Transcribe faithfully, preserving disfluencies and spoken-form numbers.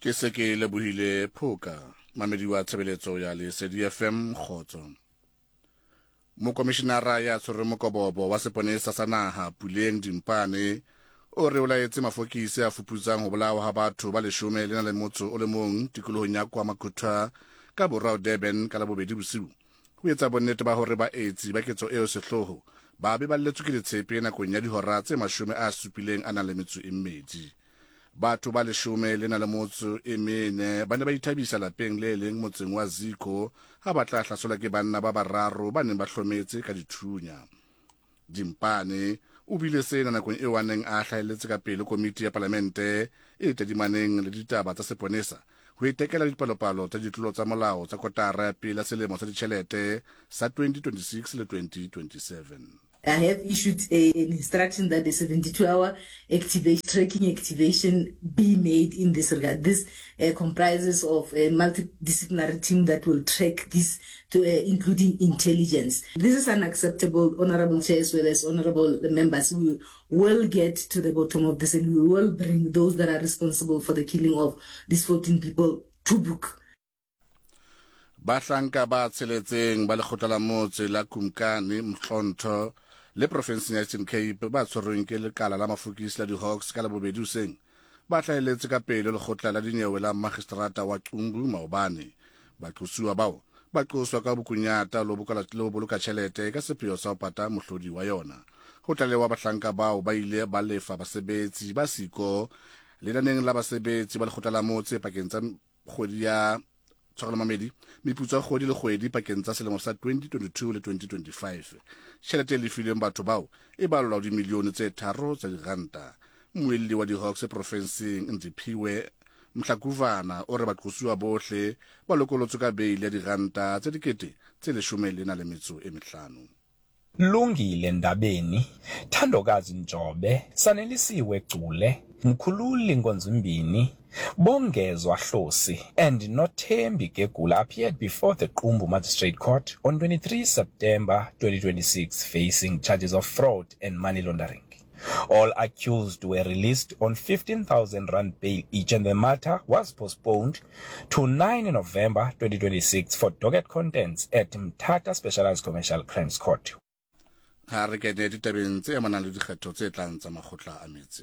Ke se ke lebohile Phoka, mamedi wa tshebeletso ya Lesedi F M kgotso. Mokomishinara ya tshwereng mokobobo wa seponesa sa naha Puleng Dimpane o re o laetse mafokisi a fuputsang ho bolawa ha batho ba leshome le na le motso o le mong tikolohong ya KwaMakhutha ka borwa Durban ka Labobedi bosiu. Ho etsa bonnete ba hore baetsi ba ketso eo sehloho ba be ba lletswe ke ditshepe nakong ya dihora tse mashome a supileng a nang le metso e mmedi. Batho ba leshome le na le motso e mene ba ne ba ithabisa lapeng le leng motseng wa Ziko ha ba tla hlaselwa ke banna ba bararo ba neng ba hlometse ka dithunya. Dimpane o bile sena nakong eo a neng a hlahelletse ka pele komiti ya palamente e tadimaneng le ditaba tsa seponesa ho itekela dipalopalo tsa ditlolo tsa molao tsa kotara ya pele ya selemo sa ditjhelete sa twenty twenty-six le twenty twenty-seven. I have issued a, an instruction that a seventy-two hour activation, tracking activation be made in this regard. This, uh, comprises of a multidisciplinary team that will track this, to, uh, including intelligence. This is unacceptable, Honorable Chair, as well as Honorable members. We will get to the bottom of this, and we will bring those that are responsible for the killing of these fourteen people to book. Bahlanka ba tsheletseng ba lekgotla la motse la Kumkani Mhlontho le profenseng ya Eastern Cape ba tshwerweng ke lekala la mafokisi la di-Hawks ka Labobedi hoseng ba hlahelletse ka pele lekgotla la dinyewe la magistrata wa Qumbu maobane. Baqosuwa bao ba qoswa ka bokunyata le ho boloka tjhelete ka sepheo sa ho pata mohlodi wa yona. Ho tlalewa bahlanka bao ba ile ba lefa basebetsi ba siko lenaneng la basebetsi ba lekgotla la motse pakeng tsa kgwedi ya tshwarelo mamedi meputso ya kgwedi le kgwedi pakeng tsa selemo sa twenty twenty-two le twenty twenty-five. Tjhelete e lefilweng batho bao e balwa dimilione tse tharo tsa diranta. Mmuelli wa di-Hawks profenseng Ndiphiwe Mhlakuvana o re baqosuwa bohle ba lokolotswe ka beili ya diranta tse dikete tse leshome le na le metso e mehlano. Lungile Ndabeni, Thandokazi Njobe, Sanelisiwe Gcule, Mkhululi Nkonzimbini, Bongezwa Hlosi and Nothembi Gegula appeared before the Qumbu Magistrate Court on twenty-three September twenty twenty-six, facing charges of fraud and money laundering. All accused were released on fifteen thousand rand bail each, and the matter was postponed to nine November twenty twenty-six for docket contents at Mthatha Specialized Commercial Crimes Court. Ha re kene ditabeng tse amanang le dikgetho tse tlang tsa makgotla a metse.